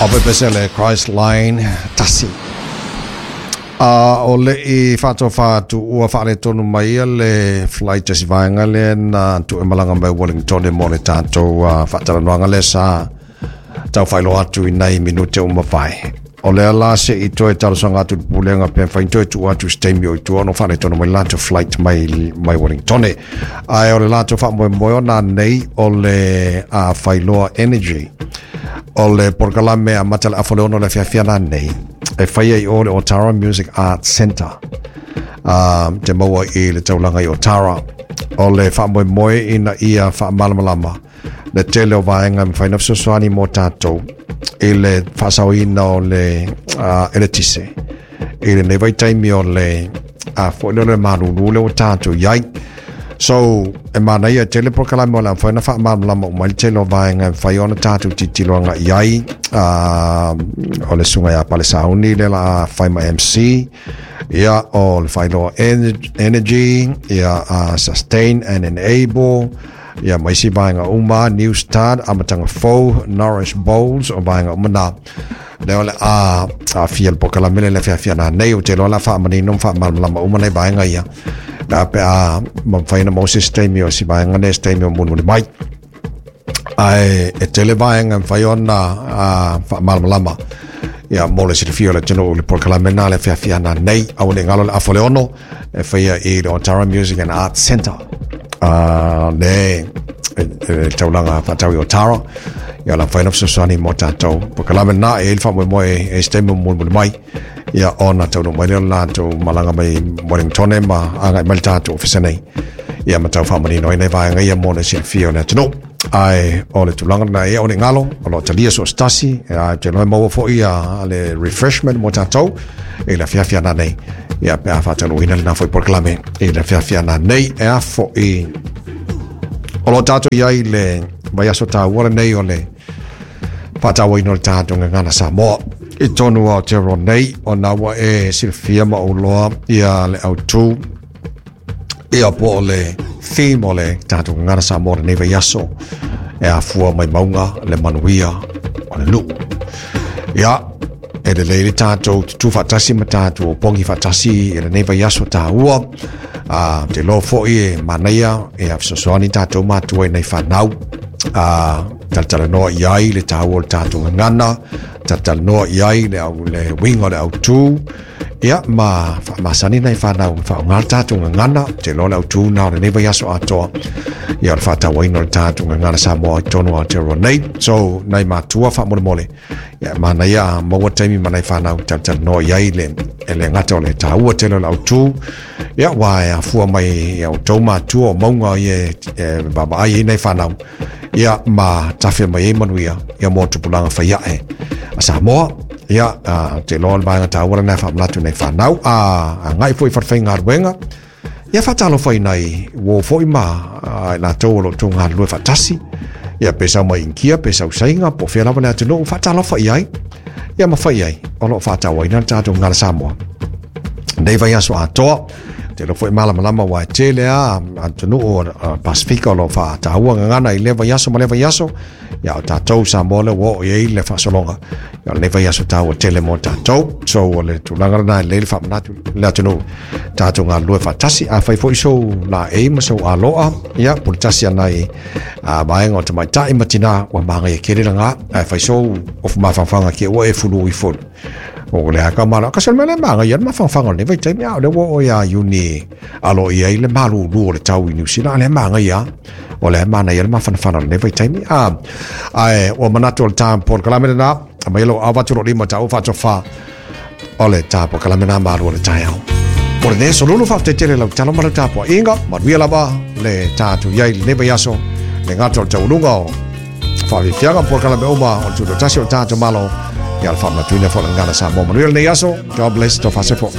O pepese Christ Line tasi. A o le i faatofa atu ua faaletonu mai ia le flight a si vaega lea na tuu e malaga mai Wellington mo le tatou faatalanoaga lea sa tau faailoa atu i nai minute ua mavae. O lea la se i toe talosaga atu i le pulega pe mafai ona toe tuu atu i se taimi o i tua ona faaletonu mai le latou flight mai Wellington. Ae o le latou faamoemoe ona nei o le Failoa Energy. O le polokalame amata le afa o le 6 o le afiafi ana nei e faia i o le Otara Music Arts Centre te maua i le taulaga i Otara. O le faamoemoe ina ia faamalamalama le tele o vaega e mafai ona fesoasoani mo tatou i le faasaoina o le eletise i lenei vaitaimi o le foi lea o le malulu lea ua tatou i ai. So, e manaia tele polokalame o le a mafai ona faamalamalama uma ai le tele o vaega e mafai ona tatou tilotilo agai i ai. O le susuga ia Pale Sauni lea la a fai ma MC, ia o le Failoa Energy, ia Sustain and Enable, ia ma isi vaega uma, New Start, Amataga Fou, Nourish Bowls, o vaega uma na. Lea o le a aafia le polokalame lea i le afiafi ana nei, ou te iloa o le a faamanino ma faamalamalama uma nai vaega ia. La pe a mafai ona maua se isi taimi o si vaega lea, se taimi o mulimuli mai. Ae e tele vaega e mafai ona faamalamalama ia mo le silafia o le atunuu i le polokalame lena le afiafi ana nei. Aua ne i galo le afa o le 6 e faia i le Otara Music and Arts Centre. Le taulaga faatau i Otara. Ia la mafai ona fesoasoani mo tatou polokalame lena. E i ai le faamoemoe e se taimi o mulimuli mai ia ona taunuu mai lea o le latou malaga mai Wellington ma agai mai le tatou ofisa nei ia ma tau faamanino ai nai vaega ia mo le silafia o le atunuu. Ae o le tulaga lena e o le galo o lo o talia so o se tasi, ae ou te iloa e maua foi ia le refreshment mo tatou i le afiafi ana nei ia pe a faataunuuina lena foi polokalame i le afiafi ana nei. E a foi o lo o tatou i ai le vaiaso taua lenei o le faatauaina o le tatou gagana Samoa i tonu o Aotearoa nei, ona ua e silafia ma ou loa ia le autu ia po o le theme o le tatou gagana Samoa lenei vaiaso e afua mai mauga le manuia o le nuu. Ia, e lelei le tatou tutū faatasi ma tatou opogi faatasi i lenei vaiaso taua. Te iloa foi e manaia e fesoasoani tatou matua i nai fanau. Talatalanoa i ai le taua o le tatou gagana, talatalanoa i ai le, au, le uiga o le autū, ia ma faamasani nai fanau e faaaoga le tatou gagana. Te iloa le autū na o lenei vaiaso atoa ia o le faatauaina o le tatou gagana Samoa i tonu o Aotearoa nei. So, nai matua faamolemole, ia manaia maua taimi ma nai fanau talatalanoa i ai le, e le gata o le taua tele o le autū, ia ua e afua mai ia outou matua o mauga ia e vaavaai ai nai fanau, ia ma tafe mai ai manuia ia mo tupulaga fai ae a Samoa. Ia, te iloa le vaega taua lena e faamanatu nei whanau, a ngai foi whatawhaigaluega, ia whaatalofa i nai uo foi ma i latou o lo outou galulue faatasi, ia pe sau mai Inikia, pe sau Saina, po o fea lava le atunuu, faatalofa i ai, ia ma fai ai o lo o faatauaina le tatou gagana Samoa nei vaiaso atoa. Te iloa foi malamalama ua e tele a atunuu o Pasifika o lo o faataua gagana i lea vaiaso ma lea vaiaso. Ia o tatou Samoa lea ua oo i ai le faasologa. Ia o lenei vaiaso taua tele mo tatou. So o le tulaga lena e lelei le faamanatu le atunuu tatou galulue faatasi. Afai foi sou laei ma sou aloa, ia puletasi ana i vaega o tamaitai ma tinā ua magaia tele lena. Ae fai sou ofu mafanafana ke ua e fulu ifo. O le aka malo, kasi o le mea lea e magaia le mafanafana o lenei vaitaimi, a o lea ua oo ia Iuni alo i ai le malulu o le tau i Niu Sila, a lea e magaia. O lea e manaia le mafanafana o lenei vaitaimi. Ae ua manatu o le tā polokalame lena, a mai lou avatu lou lima taua faatofa o le tā polokalame lena malu o le taeao. Mo lenei aso lulu, faafetai tele lau talo ma lau tapuaiga, manuia lava le tatou i ai lenei vaiaso, le gata o le taualuga o faafiafiaga polokalame uma o le tutoatasi o le tatou Malo, ia le faamanatuina foi o le gagana Samoa. Manuia lenei aso, God bless, tofa se fo.